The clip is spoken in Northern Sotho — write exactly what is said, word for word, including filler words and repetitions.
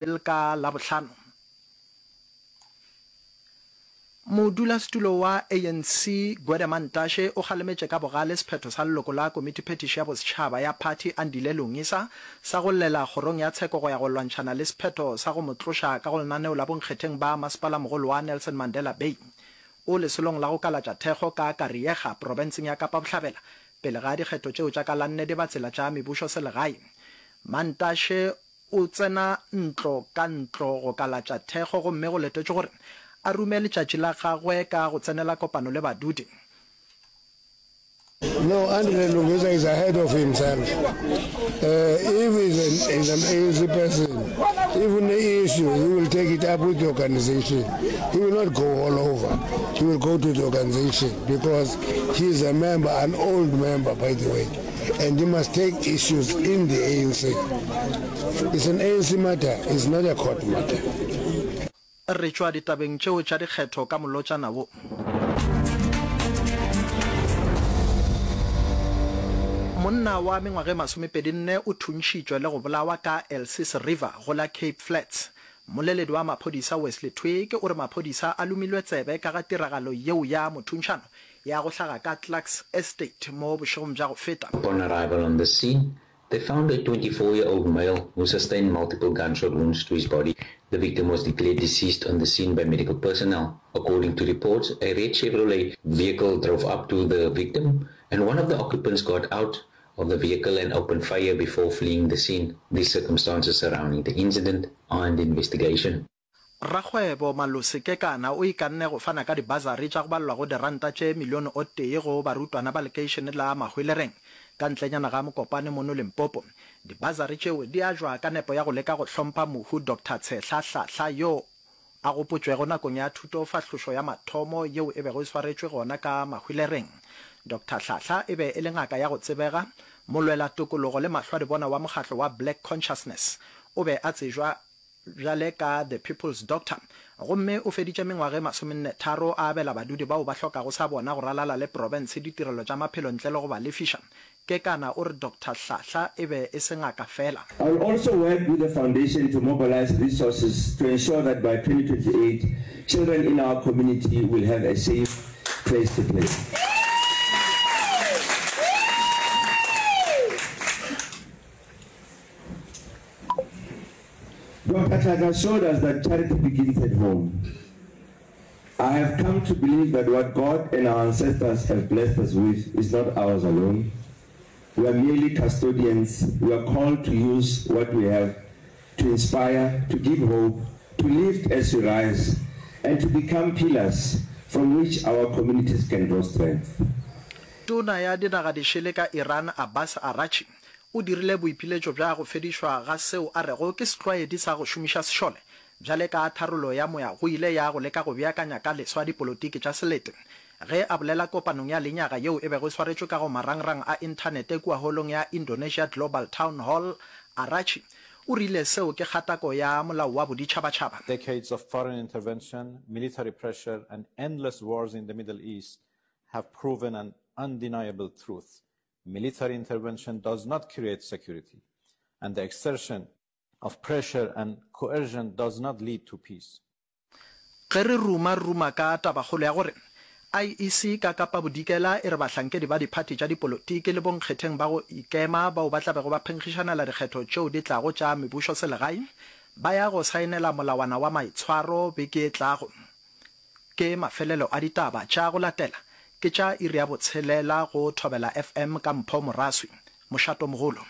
Ka Labohlano, modulasetulo wa ANC Gwede Mantashe o kgalemetše ka bogale sephetho sa leloko la Komitiphethiši ya Bosetšhaba ya phathi Andile Lungisa sa go llela kgorong ya tsheko go ya go lwantšhana le sephetho sa go mo tloša ka go lenaneo la bonkgetheng ba Masepalamogolo wa Nelson Mandela Bay. O lesolong la go kalatša thekgo ka Kariega profenseng ya Kapa Bohlabela pele ga dikgetho tšeo tša ka la nne dibatsela tša mebušoselegae. Mantashe o tsena ntlo ka ntlo go kalatša thekgo gomme go letetšwe gore a rume letšatši la gagwe ka go tsenela kopano le badudi. No, Andile Lungisa is ahead of himself. Uh, if he's an, he's an ANC person, even the issue, he will take it up with the organization. He will not go all over. He will go to the organization because he is a member, an old member, by the way. And he must take issues in the ANC. It's an ANC matter, it's not a court matter. Re tšwa ditabeng tšeo tša dikgetho ka molotšana wo. Monna wa mengwaga e masomepedi nne o thuntšhitšwe le go bolawa ka Elsies River go la Cape Flats. Mmoleledi wa maphodisa Wesley Twigg o re maphodisa a lomilwe tsebe ka ga tiragalo yeo ya mothuntšhano ya go hlaga ka Clarks Estate mo bošegong bja go feta. Upon arrival on the scene, they found a twenty-four year old male who sustained multiple gunshot wounds to his body. The victim was declared deceased on the scene by medical personnel. According to reports, a red Chevrolet vehicle drove up to the victim and one of the occupants got out of the vehicle and opened fire before fleeing the scene. The circumstances surrounding the incident are under investigation. Rakgwebo Malose Kekana o ikanne go fana ka dibasari tša go balelwa go diranta tše milione o tee go barutwana ba lekeišene la Mahwelereng ka ntlenyana ga Mokopane mono Limpopo. Dibasari tšeo di ajwa ka nepo ya go leka go hlompha mohu Doctor Tshehla Hlahla yo a gopotšwego nakong ya thutofahlošo ya mathomo yeo e bego e swaretšwe gona ka Mahwelereng. Doctor Hlahla e be e le ngaka ya go tsebega, molwelatokologo le mahlwadibona wa mokgatlo wa Black Consciousness. O be a tsejwa bjale ka The People's Doctor gomme o feditše mengwaga e masomenne-tharo a abela badudi bao ba hlokago sa bona go ralala le profense ditirelo tša maphelo ntle le go ba lefiša. Kekana o re Doctor Hlahla e be e se ngaka feela. I will also work with the foundation to mobilize resources to ensure that by twenty twenty-eight, children in our community will have a safe place to play. Doctor Tlhatlha showed us that charity begins at home. I have come to believe that what God and our ancestors have blessed us with is not ours alone. We are merely custodians. We are called to use what we have to inspire, to give hope, to lift as we rise, and to become pillars from which our communities can draw strength. Tona ya Dinaga Dišele ka Iran Abbas Araghchi o dirile boipiletšo bja go fedišwa ga seo a rego ke setlwaedi sa go šomiša sešole bjale ka tharollo ya moya go ile ya go leka go beakanya ka leswa dipolotiki tša selete. Ge a bolela kopanong ya lenyaga yeo e bego e swaretšwe ka go marangrang a inthanete kua holong ya Indonesia Global Town Hall, Araghchi o rile seo ke kgatako ya molao wa boditšhabatšhaba. Decades of foreign intervention, military pressure and endless wars in the Middle East have proven an undeniable truth. Military intervention does not create security, and the exertion of pressure and coercion does not lead to peace. Ge re ruma ruma ka tabakgolo ya gore I E C ka Kapa Bodikela e re bahlankedi ba diphathi tša dipolotiki le bonkgetheng ba go ikema bao ba tla bego ba phenkgišanela dikgetho tšeo di tlago tša mebušoselegae ba ya go saenela molawana wa maitshwaro beke e tlago. Ke mafelelo a ditaba tša go latela ke tša iri ya botshelela go Thobela F M ka Mpho Moraswi. Mošatomogolo.